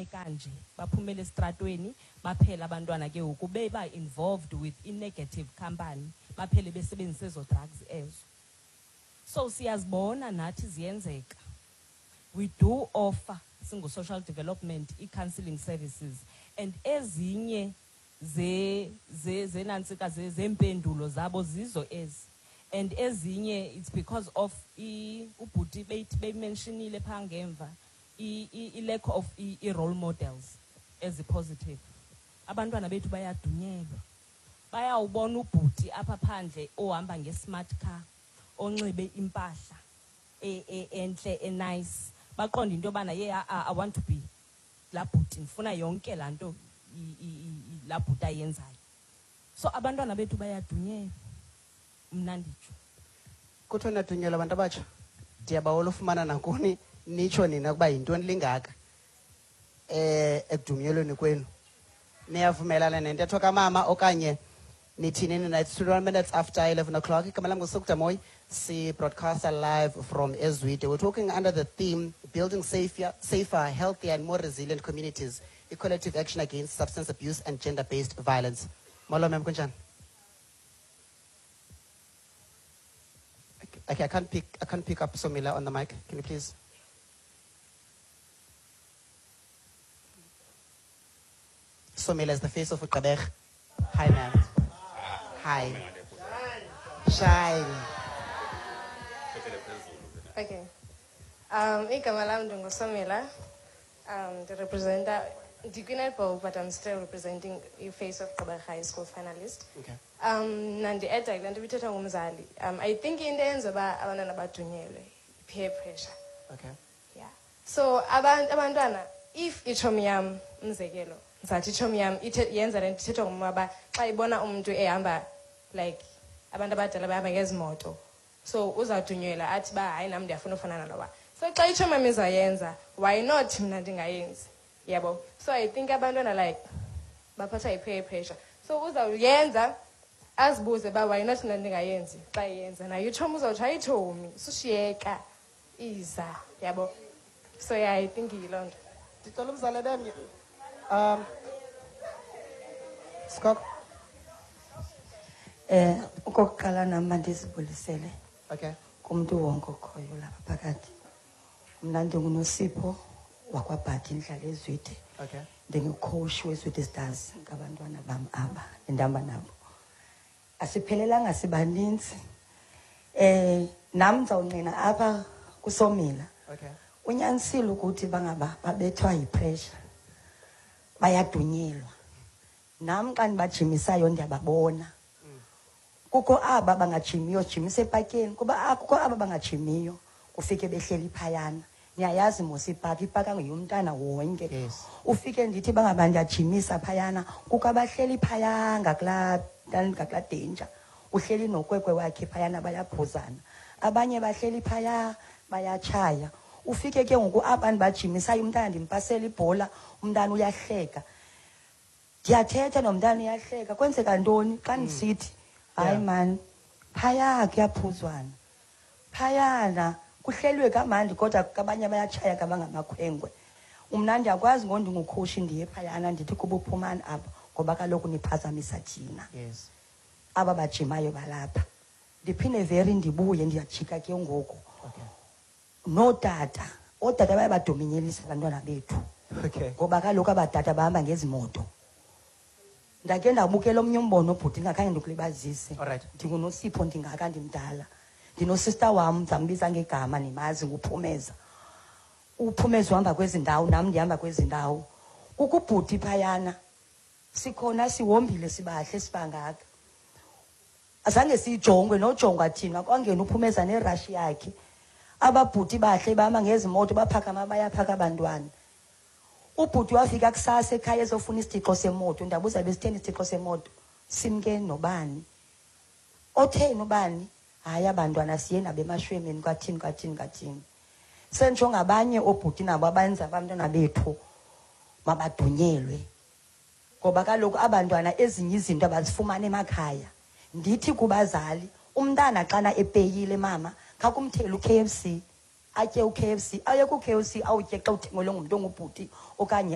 baphume kanje, baphumele esitratweni, baphele abantwana ke ngoku beba involved with i-negative company, baphele besebenzisa ezo drugs ezo. So siyazibona nathi ziyenzeka. We do offer singu-social development i-counseling services, and ezinye zenantsika zempendulo zabo zizo ezi, and ezinye it's because of ubhuti beyimentionile phaa ngemva i-lack of i-role models ezi-positive. Abantwana bethu bayadunyelwa, bayawubona ubhuti apha phandle ohamba nge-smart car, onxibe impahla entle, enice, baqonde into yobana ye I want to be laa bhuti, ndifuna yonke laa nto laa bhuti ayenzayo. So abantwana bethu bayadunyelwa, mna nditsho. Kuthiwa niyadunyelwa abantu abatsha? Ndiyabawela ufumana nakuni nitsho nina ukuba yintoni lingaka ekudunyelweni kwenu. Niyavumelana nentetho kamama okanye nithini nina? It's 21 minutes after 11 o'clock. Igama lam nguSukdamoy, si-broadcaster live from Ezwide. We're talking under the theme, Building Safer, Healthier and More Resilient Communities, a Collective Action Against Substance Abuse and Gender-Based Violence. Molo, ma'am, kunjani? Okay, I can't pick up Somila on the mic. Can you please? Somila is the face of Gqeberha. Hi, ma'am. Hi. Shine. Okay. Igama lam ndinguSomila. The representer, ndikwi-netball, but I'm still representing the face of Gqeberha High School finalist. Okay. Nandi-adda kule nto ibithethwa ngumzali. I think into eyenza uba abantwana badunyelwe, peer pressure. Okay. Yeah. So abantwana, if itshomi yam, umzekelo, ndizathi itshomi yam yenza le nto ithethwa ngumama uba xa ibona umntu ehamba, like abantu abadala bahamba ngezi moto, so uzawudunyelwa athi uba hayi nam ndiyafuna ufana nalowa. So xa itshomi yam izayenza, why not mna ndingayenzi? Yabo. So I think abantwana baphathwa yi-peer pressure. So uzawuyenza azibuze uba why not mna ndingayenzi xa iyenza. Nayo itshomi uzawuthi hayi tshomi, sushiyeka, iza, yabo. So yeah, I think yiloo nto. Ndicela umzali bemnye. Skok. Okokuqala nam mandizibulisele Okay. kumntu wonke okhoyo lapha phakathi. Mna ndinguNosipho wakwaBhadi, ndidlala eZwide. Okay. Ndingucoach weZwide Stars, ngabantwana bam aba endihamba nabo. Asiphelelanga, sibaninzi. Nam ndizawungqina apha kuSomila. Okay. Unyanisile ukuthi bangaba babethwa yipressure, bayadunyelwa. Nam xa ndibajimisayo ndiyababona. Kukho aba bangajimiyo, sijimise epakeni, kuba kukho aba bangajimiyo, kufike behleli phayana. Niyayazi mos ipaki, ipaka ngeyomntana wonke. Yes. Ufike ndithi bangaba ndiyajimisa phayana, kukho abahleli phaya ngakulaa danger. Uhleli nokwekwe wakhe phayana, bayaphuzana. Abanye bahleli phaya bayatshaya. Ufike ke ngoku aba ndibajimisayo, umntana ndimpasela ibhola, umntana uyahleka. Ndiyathetha nomntana uyahleka. Kwenzeka ntoni xa ndisithi hayi man, phaya kuyaphuzwana, phayana kuhlelwe kamandi, kodwa abanye bayatshaya kabangamakhwenkwe. Mna ndiyakwazi ngoku ndingukhoshi ndiye phayana ndithi kuba uphumani apha, ngoba kaloku niphazamisa thina. Yes. Aba bajimayo balapha. Ndiphinde veri ndibuye, ndiyajika ke ngoku. Okay. Nootata, ootata baye badominyelisa abantwana bethu. Okay. Ngoba kaloku abatata bahamba ngezi moto. Ndakhe ndabukela omnye umbono bhuti, ndingakhange ndikulibazise. All right. NdinguNosipho, ndingaka, ndimdala. Ndinosista wam, ndizambiza ngegama, nimazi, nguPhumeza. uPhumeza uhamba kwezi ndawo, nam ndihamba kwezi ndawo. Kukho ubhuti phayana, sikhona sihombile, sibahle, sibangaka. Azange siyijongwe nojongwa thina, kwangena uPhumeza nerashi yakhe. Ababhuti bahle bahamba ngezi moto, baphakama bayaphaka abantwana. Ubhuti wafika kusasa ekhaya ezofuna isitixo semoto. Ndabuza besitheni isitixo semoto? Simke nobani? Otheni ubani? Hayi abantwana siye nabo emashwemeni kwathini kwathini kwathini. Sentsho ngabanye oobhuti nabo abenza abantwana bethu mabadunyelwe. Ngoba kaloku abantwana ezinye izinto abazifumani emakhaya. Ndithi kubazali, umntana xana epeyile mama, khakumthele u-KFC, atye u-KFC, aye ku-KFC awutye xa uthengelwe ngumntu ongubhuti okanye